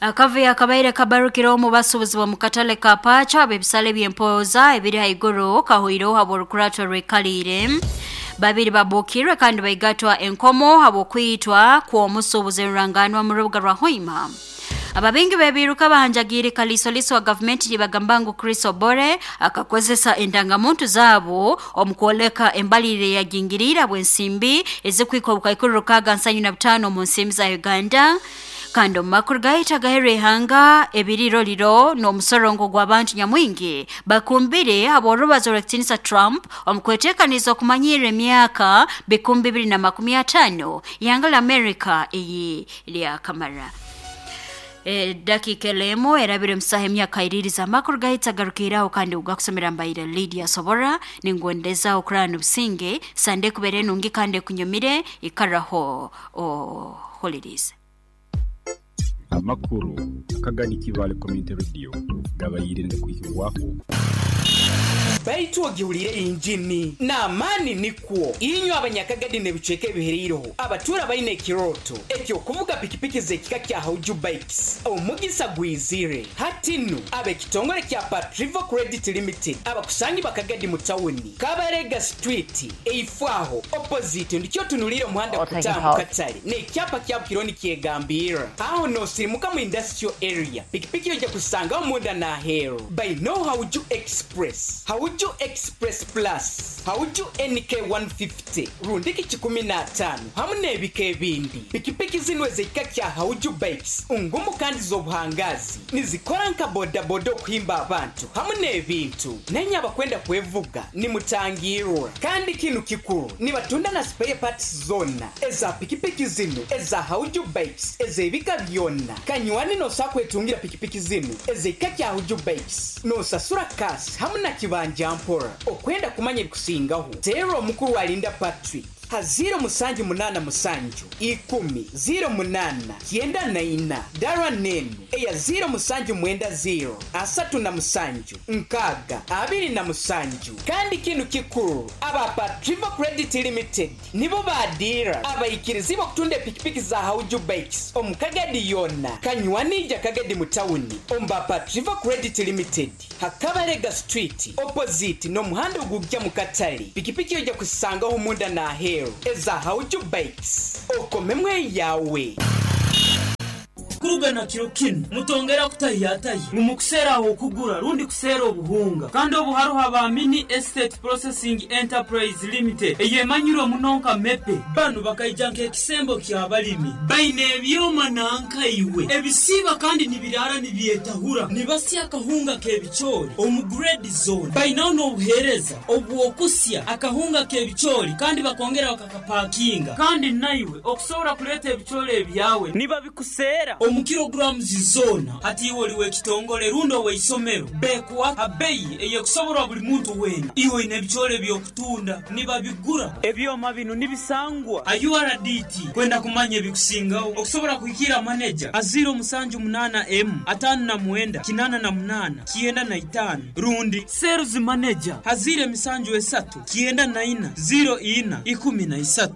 Akavuyo akabaire kabarukire omu basuubuzi b'omu katale ka Paacho ab'ebisale by'empooza ebiri haiguru kahoireho habw'orukurato rwikaliire. Babiri babuukirwe kandi baigatwa enkomo habw'okwitwa kw'omusuubuzi ruranganwa mu rubuga rwa Hoima. Ababingi bebiruka bahanjagiire kalisoliso wa gavumenti nibagamba ngu Chris Obore akakozesa endangamuntu zaabo omu kwoleka embalirire yagingiriire bw'ensimbi ezikwika obukaikuru 675 omu nsimbi za Uganda. Kandi omu makuru gaitu agaheerwa ihanga, ebiriroriro n'omusorongo gw'abantu nyamwingi bakumbire habw'orubazo rw'ekitiinisa Trump omu kweteekaniza okumanyirra emyaka 2050 ihanga la Amerika eyi lyakamara. Dakiika elemu erabire musaha emyaka iririza. Amakuru gaitu agarukiraho kandi ugakusomera mbaire Lydia Sobora, ningwendeza okurara n'obusinge sande kubera enungi kandi ekunyumire. Ikaraho ohulirize. Amakuru akagani Kibaale Community Radio gabaire nigakwihibwaho. Baitu ogihuliire injini n'amaani nikwo inywe abanyakagadi n'ebicweka ebihereireho abatuura baine ekirooto eky'okuvuga pikipiki z'ekika kya Hauju Bikes. Omugisa gwizire hati nu ab'ekitongole kya Patrivo Credit Limited abakusangi bakagadi mu tawuni Kabarega Street eifwaho opposite ndikyo otunuliire omuhanda I'll take a kutaaha mu pause. katale n'ekyapa kyabo kiriho nikyegambirra aho noosirimuka mu industrial area. Pikipiki oija kuzisangaho munda n'aheeru. Bainaho Hauju Express, Hauju Express Plus, Hauju NK 150 rundiki kikumi n'ataano hamu n'ebika ebindi. Pikipiki zinu ez'ekika kya Hauju Bikes ngumu kandi z'obuhangaazi, nizikora nka bodaboda okuhimba abantu hamu n'ebintu. Nainye abakwenda kwevuga nimutangirwa. Kandi kinu kikuru, nibatunda na spare parts zoona eza pikipiki zinu eza Hauju Bikes ez'ebika byona. Kanywani noosobola kwetungira pikipiki zinu ez'ekika kya Hauju Bikes noosasura cash hamu na kibanja mpora. Okwenda kumanya ebikusingaho, teerra omukuru Alinda Patrick ha 0787 10 08 94, dara n'enu eya 0790 37 60 27. Kandi kinu kikuru, aba Patrivo Credit Limited nibo baadiira abaikiriziibwe okutunda epikipiki za Hauju Bikes omu Kagadi yoona. Kanywani ija Kagadi mu tawuni omu ba Patrivo Credit Limited ha Kabarega Street opposite n'omuhanda ogujja mu katale. Pikipiki oija kuzisangaho munda n'aheeru eza Hauju Bikes. Okomemu eyawe. Kuruga na kiro kinu, mutongera kutahiyatahya ngu mukuseera ah'okugura rundi kuseera obuhunga. Kandi obu haroho aba Mini Estate Processing Enterprise Limited eyemanyirwe muno nka MEPE. Banu bakaija nk'ekisembo ky'abalimi. Baine ebyoma nanka iwe ebisiiba kandi nibiraara nibyetahura. Nibasya akahunga k'ebicoori omu grade zoona. Bainaho n'obuheereza obw'okusya akahunga k'ebicoori kandi bakongera bakakapakinga. Kandi naiwe okusobora kuleeta ebicoori ebyawe nibabikuseera omu kilograms zoona. Hati iwe oli w'ekitongole rundi ow'eisomero, beekuha ha beyi ey'ekusoborwa buli muntu weena. Iwe oine ebicoori eby'okutunda, nibabigura. Ebyoma binu nibisangwa ha URDT. Kwenda kumanya ebikusingaho, okusobora kuhikiira maneja ha 078 emu 59 88 95 rundi sales manager ha 073 94 04 13.